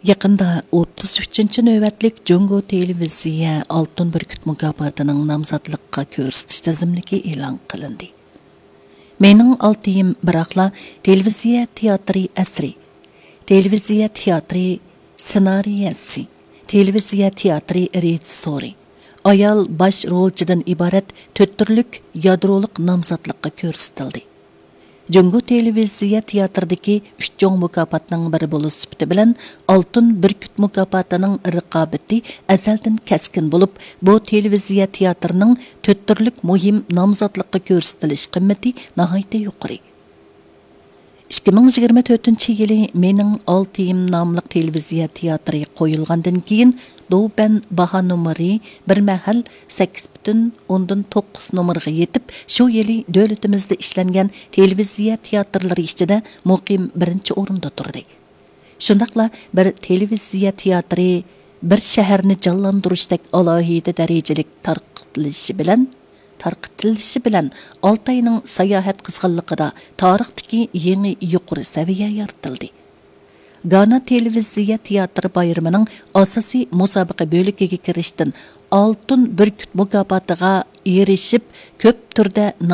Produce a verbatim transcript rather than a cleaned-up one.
يېقىندا ئوتتۇز ئۈچىنچى نۆۋەتلىك جۇڭگو تېلېۋىزىيە ئالتۇن بۈركۈت مۇكاپاتىنىڭ نامزاتلىققا كۆرسىتىش تىزىملىكى ئېلان قىلىندى. مېنىڭ ئالتىيىم بىراقلا تېلېۋىزىيە تىياتىرى ئەسىرى، تېلېۋىزىيە تىياتىرى سېنارىيەسى، تېلېۋىزىيە تىياتىرى رېژىسسورى، ئايال باش رولچىدىن ئىبارەت تۆت تۈرلۈك يادرولۇق نامزاتلىققا كۆرسىتىلدى. جۇڭگو تېلېۋىزىيە تىياتىرىدىكى ئۈچ چوڭ مۇكاپاتنىڭ بىرى بولۇش سۈپىتى بىلەن ئالتۇن بۈركۈت مۇكاپاتىنىڭ رىقابىتى ئەزەلدىن كەسكىن بولۇپ، بۇ تېلېۋىزىيە تىياتىرىنىڭ تۆت تۈرلۈك مۇھىم نامزاتلىققا كۆرسىتىلىش قىممىتى ناھايىتى يۇقىرى. ئىككى مىڭ يىگىرمە تۆتىنچى يىلى مېنىڭ ئالتىيىم ناملىق تېلېۋىزىيە تىياتىرى قويۇلغاندىن كېيىن، دوبەن باھا نومۇرى بىر مەھەل سەككىز پۈتۈن ئوندىن توققۇز نومۇرغا يېتىپ، شۇ يىلى دۆلىتىمىزدە ئىشلەنگەن تېلېۋىزىيە تىياتىرلىرى ئىچىدە مۇقىم بىرىنچى ئورۇندا تۇردى. شۇنداقلا بىر تېلېۋىزىيە تىياتىرى بىر شەھەرنى جانلاندۇرۇشتەك ئالاھىدە دەرىجىلىك تارقىتىلىشى بىلەن، تارقىتىلىشى بىلەن ئالتاينىڭ ساياھەت قىزغىنلىقىدا تارىختىكى يېڭى يۇقىرى سەۋىيە يارىتىلدى. گانا تېلېۋىزىيە تىياتىر بايرىمىنىڭ ئاساسىي مۇسابىقە بۆلىكىگە كىرىشتىن ئالتۇن بۈركۈت مۇكاپاتىغا ئېرىشىپ، كۆپ تۈردە